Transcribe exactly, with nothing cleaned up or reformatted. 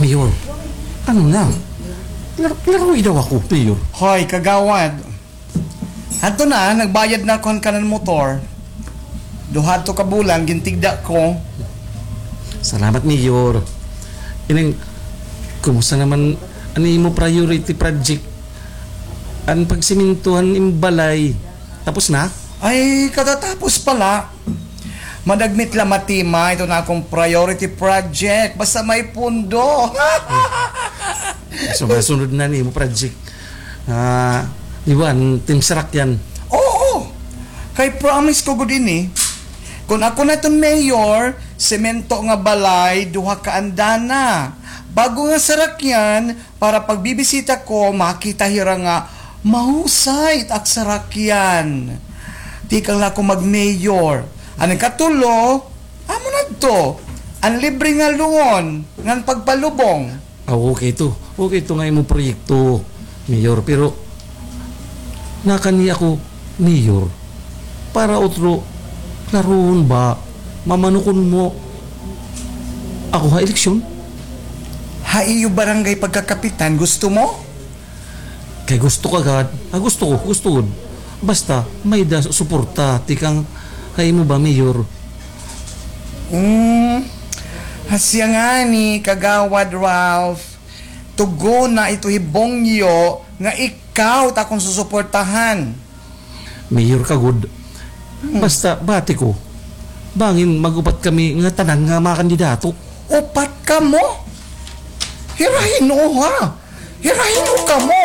Mayor, ano na? Lar-, laruoy daw ako, Mayor. Hoy, kagawad. Hadto na, nagbayad na ako han kanan motor. Duha hadto ka bulan, gintigda ko. Salamat, Mayor. Ining, kumusta naman an imo priority project? An pagsiminto han im balay. Tapos na? Ay, katatapos pa la. Madagmit la matima iton akon priority project. Basta may pundo. So, masunod na an imo project. Ah, iwan, Team Sarakyan. Oo. Kay promise ko gud ini. Kon ako na iton mayor, semento nga balay, duha ka andana. Bag-o nga sarakyan, para pagbibisita ko, makita hira nga mahusay it ak sarakyan. Tikang la ako mag-mayor. An ikatulo, amo na adto. An libre nga lungon, ngan pagpalubong. Ah, okay to. Okay to nga imo proyekto, Mayor. Pero, nakani ako, Mayor, para utro, klarohon ba, mamanukon mo ako ha eleksyon? Ha iyo barangay pagkakapitan, gusto mo? Kay gusto ka gad, ah, gusto ko, gusto gud. Basta, may-ada suporta, tikang ha imo ba, Mayor? Hmm, hasya ngani, Kagawad Ralph, tugona ito hi Bongyo nga ikaw it akon susuportahan. Mayor ka gud. Hmm. Basta, bati ko. Bangin mag-upat kami nga tanan nga mga kandidato. Upat kamo? Hira hin-o, ha? Hira hin-o kamo?